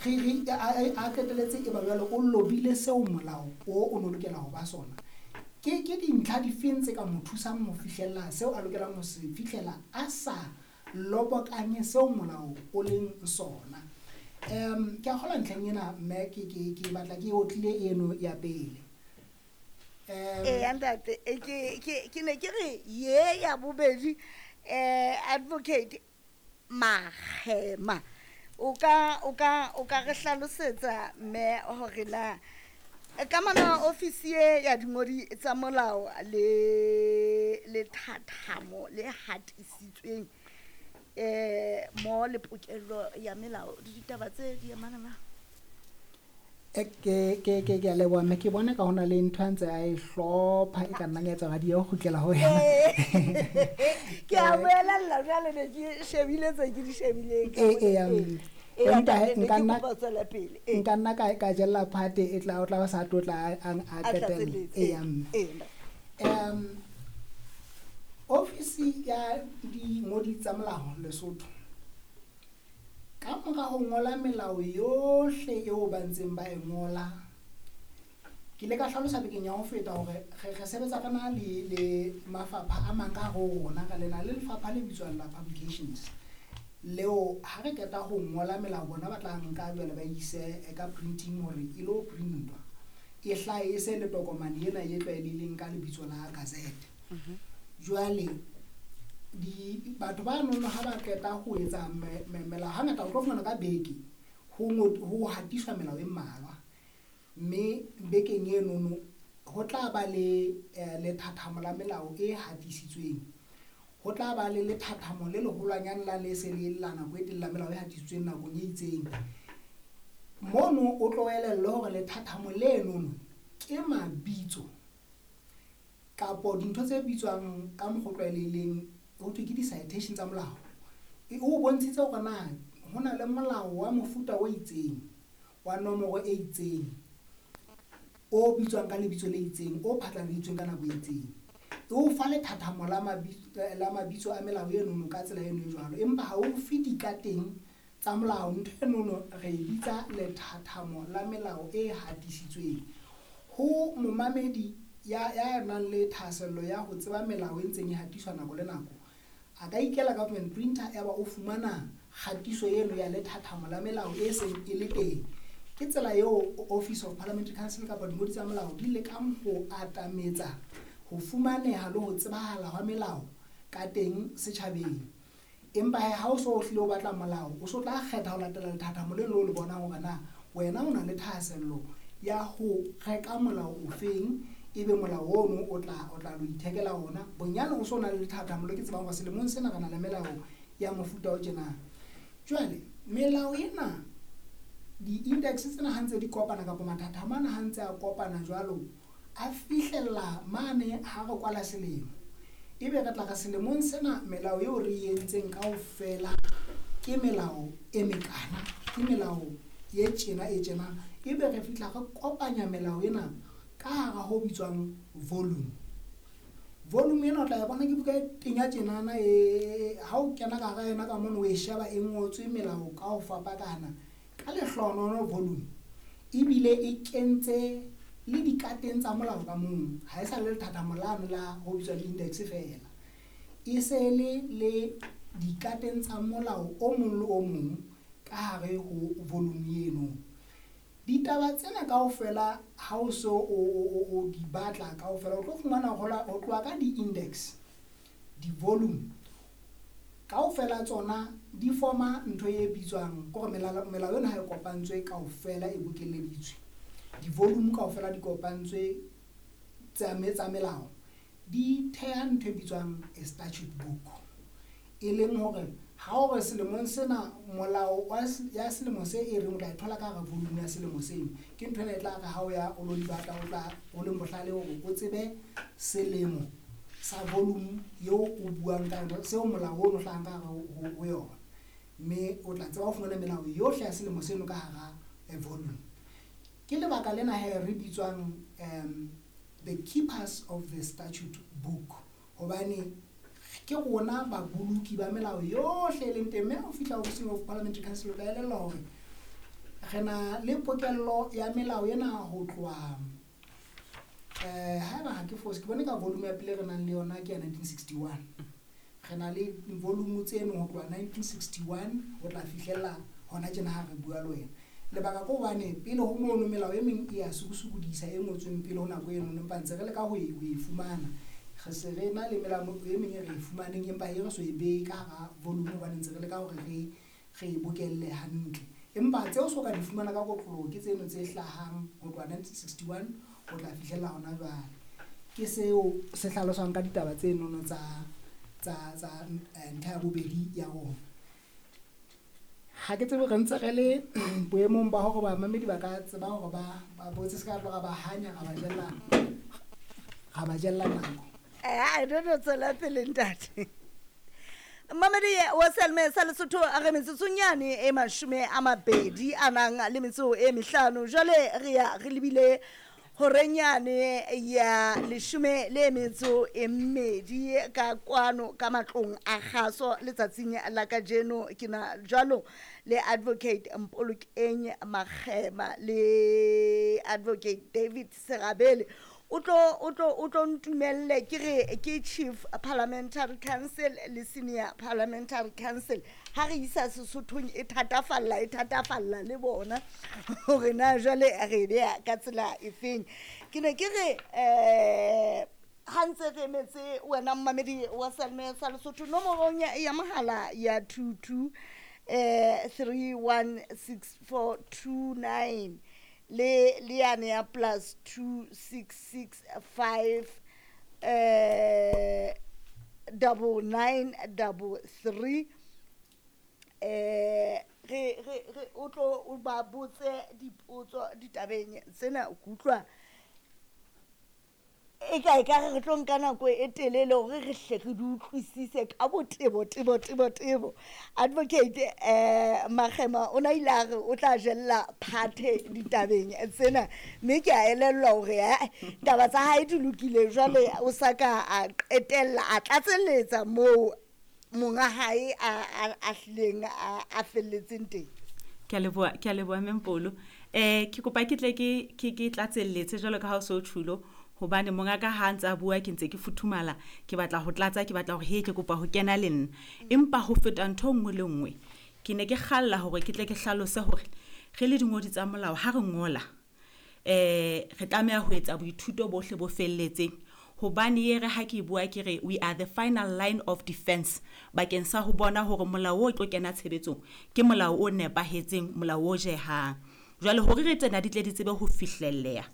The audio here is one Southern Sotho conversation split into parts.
Re re a qetelletse e ba jwale o lobile seo molao o no lokela ho ba sona. Ke dintlha difeng tse ka mo thusang ho fihlella seo a lokelang ho se fihlela a sa lobokanye seo molao o leng sona. Ke a kgolwa ntlheng ena mme ke batla ke otlile eno ya pele. Eya ntate, ke ne ke re ye ya bobedi, Advocate Makgema, o ka re hlalosetsa mme hore na kamano ya ofisi e ya dingodi tsa molao le lethathamo le hatisitsweng mo le pokello ya melao le ditaba tse di amana na? Ke a leboha mme. Ke bona ka hona le ntho a ntse a e hlopha e ka nnang ya etsa hore di ye ho kgutlela ho yena. Ke a boelella jwale, ne ke shebile tse ke di shebileng. Ee, Ee, empa ntate, ne nka ke nna kopa ho tswela pele. Nka nna ka jella phate e tla o tla ba sa tlotla a A qetella. tlatselletse. Ee, mme. Ofisi ya dingodi tsa molao Lesotho, ka mora ho ngola melao yohle eo ba ntseng ba e ngola, ke ile ka hlalosa bekeng ya ho feta hore re sebetsa ka na le mafapha a mang ka hare ho rona. Re lena le lefapha le bitswang la publications, leo ha re qeta ho ngola melao, bona ba tla nka jwale ba ise ka printing hore e lo printwa, e hlahe e se le tokomane ena e tlwaelehileng ka lebitso la gazette. Jwale di batho ba nono ha ba qeta ho etsa melao, hangata o tlo fumana ka beke ho hatiswa melao e mmalwa, mme bekeng enono ho tla ba le lethathamo la melao e hatisitsweng, ho tla ba le lethathamo le leholwanyane la le se le la nako e telele la melao e hatisitsweng nakong e itseng. Mono o tlo elellwe hore lethathamo lenono ke mabitso kapo dintho tse bitswang ka mokgwa o tlwaelehileng ho thwe ke di-citation tsa molao. O bontshitse hore na ho na le molao wa mofuta o itseng wa nomoro e itseng o bitswang ka lebitso le itseng o phatlaladitsweng ka nako e itseng. E o fa lethathamo la mabitso a melao enono ka tsela eno e jwalo, empa ha o fe dikateng tsa molao. Ntho enono re e bitsa lethathamo la melao e hatisitsweng. Ho momamedi ya nang le thahasello ya ho tseba melao e ntseng e hatiswa nako le nako, a ka ikela government printer, ya ba o fumana kgatiso eno ya lethathamo la melao e seng e le teng. Ke tsela eo Office of Parliamentary Council kapa dingodi tsa molao di lekang ho atametsa ho fumaneha le ho tsebahala hwa melao ka teng setjhabeng. Empa hee, ha o so o hlile o batla molao, o so tla kgetha ho latela lethathamo leno o le bonang hore na wena o na le thahasello ya ho reka molao ofeng, ebe molao ono o tla lo ithekela ona. Bonyane o so na le lethathamo le ke tsebang hore selemong sena re na le melao ya mofuta o tjena. Jwale melao ena, di-index tsena ha ntse di kopana kapa mathathamo ana ha ntse a kopana jwalo, a fihlella mane ha re kwala selemo, ebe re tla re selemong sena melao eo re e entseng kaofela ke melao e mekana, ke melao e tjena e tjena, ebe re fihla re kopanya melao ena ka hara ho bitswang volume. Volume ena o tla e bona ke buka e tenya tjenana, e ha o kena ka hara yona ka mono, o e sheba e ngotswe melao ka ho fapakana. Ka lehlohonolo volume ebile e kentse le dikateng tsa molao ka mong, ha e sa le lethathamo lane la ho bitswang index feela, e se le dikateng tsa molao o mong le o mong ka hare ho volume eno. Ditaba tsena kaofela ha o so o di batla kaofela, o tlo fumana ho tloha ka di-index, di-volume kaofela tsona di forma ntho e bitswang kore melao ena ha e kopantswe kaofela, e bokelleditswe, di-volume kaofela di kopantswe tsa melao, di theha ntho e bitswang a statute book, e leng hore ha o re selemong sena molao ya selemo se e reng o tla e thola ka hara volume ya selemo seno. Ke ntho ena e tla re ha o ya o lo di batla, o tla o leng bohlale hore o tsebe selemo sa volume eo o buang ka yona, seo molao ono hlahang ka hare ho yona, mme o tla tseba ho fumana melao yohle ya selemo seno ka hara volume. Ke lebaka lena he re bitswang the keepers of the statute book, hobane ke rona baboloki ba melao yohle e leng teng. Mme ha o fihla ofising of Parliamentary Council, o tla elellwa hore Re na le pokello ya melao ena ho tloha haeba ha ke fose, ke bone ka volume ya pele re nang le yona ke ya 1961. Re na le volume tseno ho tloha 1961 ho tla fihlella hona tjena ha re bua le wena. Lebaka ke hobane pele ho mono melao e meng e ya sokosokodisa e ngotsweng pele ho nako eno, empa ntse re leka ho e fumana. Re se re na le melao e meng e re e fumaneng, empa e re so e behe ka hara volume hobane ntse re leka hore re e bokelle hantle. Empa tseo so ka di fumana ka kotloloho ke tseno tse hlahang ho tloha 1961 ho tla fihlella hona jwale. Ke seo se hlaloswang ka ditaba tse nono tsa ntlha ya bobedi ya rona. Ha ke tsebe re ntse re le boemong ba hore bamamedi ba ka tseba hore ba botse, se ka tloha ba hanya ra ba jella nako. I don't know, tswela pele ntate. Mamedi wa Selme sa Lesotho, a re metsotsong yane e 25, jwale re ya re lebile horeng yane ya 12 ka kwano ka matlong a kgaso. Letsatsing la kajeno ke na jwalo le Advocate Mpolokeng Makgema le Advocate David Serabele. O tlo ntumelle ke re ke Chief Parliamentary Counsel le Senior Parliamentary Counsel. Ha re isa Sesothong e thatafalla le bona hore na jwale re beha ka tsela efeng. Ke ne ke re ha ntse re emetse wena mmamedi wa Selme sa Lesotho nomorong ya mohala ya 22 316429 le yane ya +2665 9933, re o tlo o ba botse dipotso ditabeng tsena. Ke utlwa e ka re tlo nka nako e telele hore re hle re di utlwisise ka botebo tebo tebo tebo. Advocate Makgema o na ile a re o tla jella phathe ditabeng tsena, mme ke a elellwa hore taba tsa hae di lokile. Jwale o sa ka a qetella a tlatselletsa moo monga hae a hlileng a felletseng teng. Ke a leboha, ke a leboha Mempolo. Ke kopa ke tle ke tlatselletse jwalo ka ha o so tjhulo, hobane monga ka ha ntse a bua ke ntse ke futhumala, ke batla ho tlatsa, ke batla hore he ke kopa ho kena le nna. Empa ho feta ntho e nngwe le nngwe, ke ne ke kgalla hore ke tle ke hlalose hore re le dingodi tsa molao, ha re ngola re tlameha ho etsa boithuto bohle bo felletseng, hobane ye re ha ke bua ke re we are the final line of defense bakeng sa ho bona hore molao o tlo kena tshebetsong ke molao o nepahetseng, molao o jehang. Jwale hore re tsena di tle di tsebe ho fihlelleha,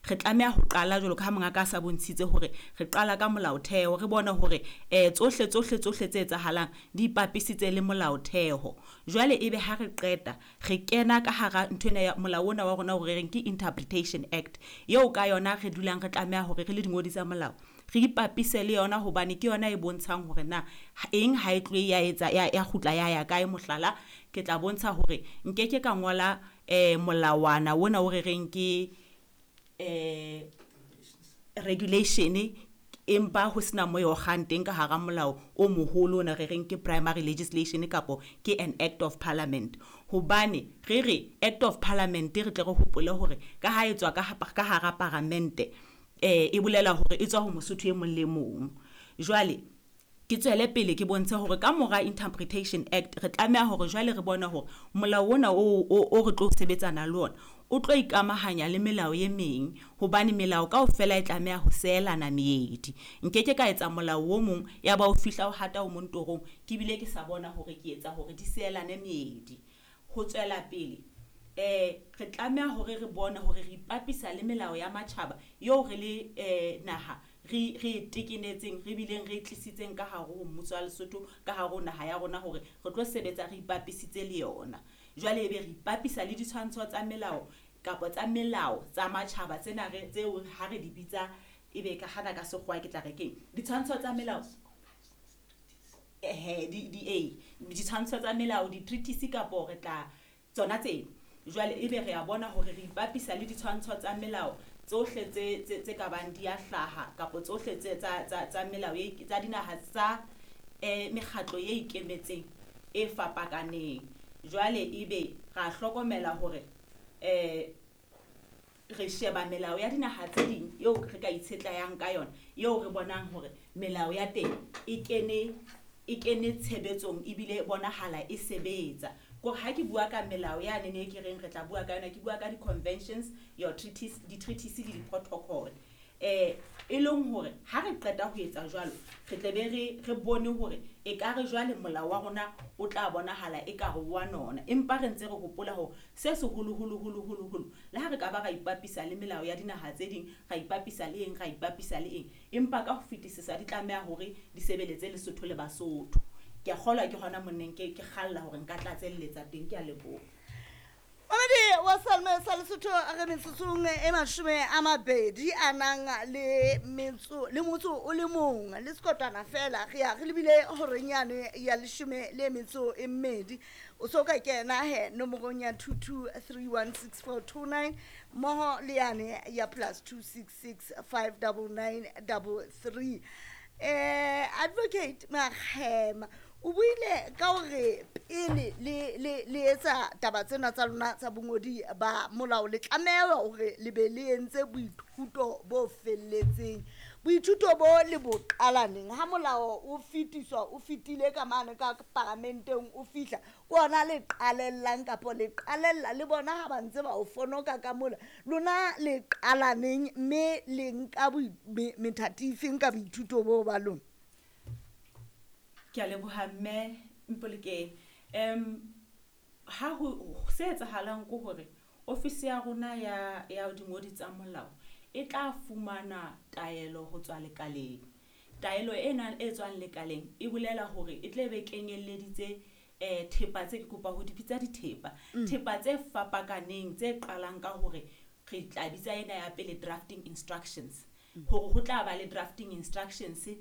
re tlameha ho qala jwalo ka ha monga ka sa bontshitse hore re qala ka molaotheo, re bone hore tsohle tsohle tsohle tse etsahalang di ipapisitse le molaotheo. Jwale ebe ha re qeta re kena ka hara ntho ena ya molao ona wa rona hore re reng ke Interpretation Act, eo ka yona re dulang re tlameha hore re le dingodi tsa molao re ipapise le yona, hobane ke yona e bontshang hore na eng ha e tlohe ya etsa ya kgutla ya ya kae. Mohlala, ke tla bontsha hore nkeke ka ngola molawana ona o re reng ke regulation, empa ho sena mo e okgang teng ka hara molao o moholo ona re reng ke primary legislation kapo ke an act of parliament. Hobane re re act of parliament, re tle re hopole hore ka ha e tswa ka hara paramente, e bolela hore e tswa ho Mosotho e mong le mong. Jwale ke tswele pele ke bontshe hore ka mora Interpretation Act re tlameha hore jwale re bone hore molao ona o re tlo sebetsana le ona o tlo ikamahanya le melao e meng, hobane melao kaofela e tlameha ho seelana meedi. Nkeke ka etsa molao o mong ya ba o fihla o hata o mong torong, ke bile ke sa bona hore ke etsa hore di seelane meedi. Ho tswela pele, re tlameha hore re bone hore re ipapisa le melao ya matjhaba eo re le naha re e tekenetseng, re bileng re e tlisitseng ka hare ho mmuso wa Lesotho, ka hare ho naha ya rona, hore re tlo sebetsa re ipapisitse le yona. Jwale ebe re ipapisa le ditshwantsho tsa melao kapa tsa melao tsa matjhaba tsena re tseo ha re di bitsa, ebe ka hana ka sekgowa ke tla re keng ditshwantsho tsa melao, ehe di ditshwantsho tsa melao, di-treaties kapo re tla tsona tseno. Jwale ebe re a bona hore re ipapisa le ditshwantsho tsa melao tsohle tse ka bang di a hlaha, kapo tsohle tse tsa melao e tsa dinaha tsa mekgatlo e ikemetseng e fapakaneng. Jwale ebe ra hlokomela hore Re sheba melao ya dinaha tse ding eo re ka itshetlayang ka yona, eo re bonang hore melao ya teng e kene tshebetsong ebile bonahala e sebetsa. Kore ha ke bua ka melao yane ne ke reng re tla bua ka yona, ke bua ka di-conventions, your treaties, di-treaties le di-protocol, e leng hore ha re qeta ho etsa jwalo, re tle be re bone hore e ka re jwale molao wa rona o tla bonahala e ka re wa nona. Empa re ntse re hopola hore se seholoholo holo holo holo, le ha re ka ba ra ipapisa le melao ya dinaha tse ding, ra ipapisa le eng, ra ipapisa le eng, empa ka ho fetisisa di tlameha hore di sebeletse Lesotho le Basotho. Ke a kgolwa ke hona monneng ke kgalla hore nka tlatselletsa teng. Ke a leboha. Mamedi wa Salme sa Lesotho, re metsotsong e 20 a nang le metso le motso o le mong le sekotwana fela, re ya re lebile horeng yane ya 12. O so ka kena he nomorong ya 22316429 mmoho le yane ya +266 59933. Advocate Makgema o buile ka hore pele le etsa taba tsena tsa lona tsa bongodi ba molao, le tlameha hore le be le entse boithuto bo felletseng. Boithuto bo le bo qalaneng ha molao o fetiswa, o fetile ka mane ka paramenteng, o fihla ke ona le qalellang kapa le qalella le bona ha ba ntse ba o fonoka ka mola lona le qalaneng, mme le nka methati efeng ka boithuto bo ba lona? Ke a leboha, mme Mpolokeng. Ha ho se etsahalang ke hore ofisi ya rona ya dingodi tsa molao e tla fumana taelo ho tswa lekaleng. Taelo ena e tswang lekaleng e bolela hore e tle be kenyelleditse thepa tse ke kopa ho di bitsa dithepa, thepa tse fapakaneng, tse qalang ka hore re tla bitsa ena ya pele drafting instructions, hore ho tla ba le drafting instructions tse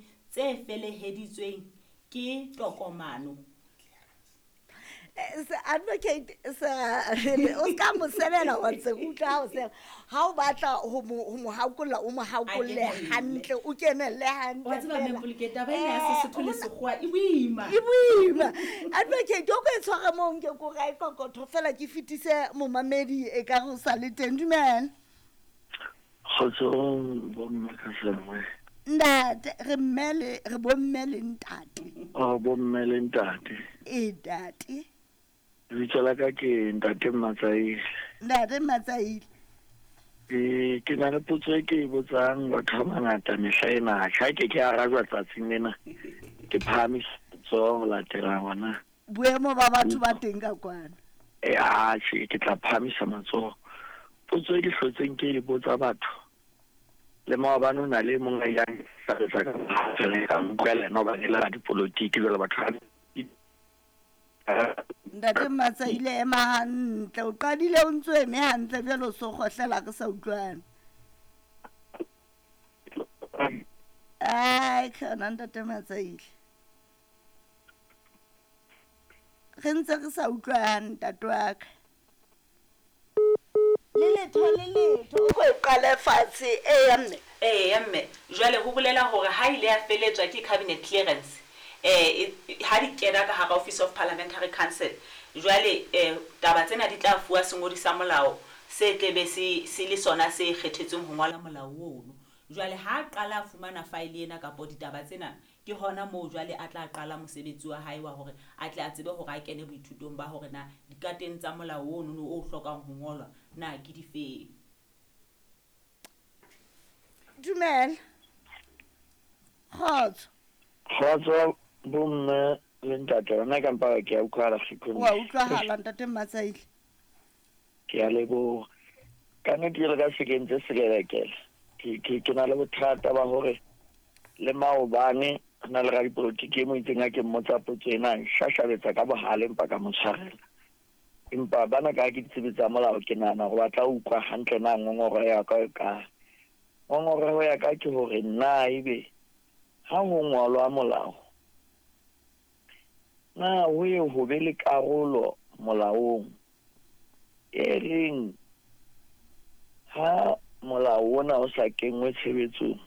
feleheditsweng ke tokomano. Advocate sa o ska mo sebela, wa ntse utlwa ha o seba ha o batla ho mo hakolla, o mo hakolle kenelle. Hantle, o kenelle hantle Wa tseba, fela. Mme Mpolokeng, taba ena ya Sesotho le Sekgowa e boima. E boima. Advocate, o ko e tshware moo, nke ko rae kokotho fela, ke fetise momamedi e ka re o sa le teng. Dumela. Kgotsong bomme ka sengwe. Ntate, re mme le re bomme le ntate. O bomme le ntate. E ntate. Lebitso la ka ke ntate Matsaile. Ntate Matsaile. Ke na le potso e ke e botsang batho ba bangata mehla ena. Ha ke arajwa tsatsing lena, ke phahamisa letsoho ho latela ngwana. Boemo ba batho ba teng ka kwana. E atjhe, ke tla phahamisa matsoho. Potso e ke hlotseng ke e botsa batho. Le maobane ho na le e mong a ileng a hlalosa ka fela ka utlwa le yena hobane e le radipolotiki jwale batho ba Ntate Matsaile, ema hantle, o qadile o ntso eme hantle, jwale o so kgohlela, re sa utlwane. Ai khona, ntate Matsaile, re ntse re sa utlwane, ntate wa ka, le letho le letho, o ko e qale fatshe. Eya, mme. Eya mme, jwale ho bolela hore ha ile ya feletswa ke cabinet clearance, ha di kena ka hara Office of Parliamentary Council, jwale taba tsena di tla fuwa sengodi sa molao se tlebe se le sona se kgethetsweng ho ngola molao ono. Jwale ha a qala a fumana file ena kapo ditaba tsena, ke hona moo jwale a tla qala mosebetsi wa hae wa hore a tle a tsebe hore a kene boithutong ba hore na dikateng tsa molao ono o hlokang ho ngolwa na ke difeng. Dumela, kgotso. Kgotso bomme le ntate, rona ka mpa ke a utlwahala sekhong. Wa utlwahala, ntate Matsaile. Ke a leboha. Ka nnete jwalo ka se kentse selelekela. Ke na le bothata ba hore le maobane ho na le radipolotiki e mo itseng ha ke mmotsa potso ena, shashabetsa ka bohale, empa ka mo tshwarela. Empa bana ka ke ditsebi tsa molao, ke nahana hore ba tla utlwa hantle na ngongoreho ya ka e kae. Ngongoreho ya ka ke hore na ebe ha ho ngolwa molao, na ho ye ho be le karolo molaong e reng ha molao ona o sa kenngwe tshebetsong,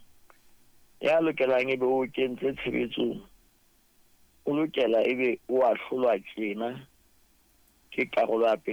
ya lokelang ebe o kentse tshebetsong o lokela ebe o ahlolwa tjena, ke karolo ya pele.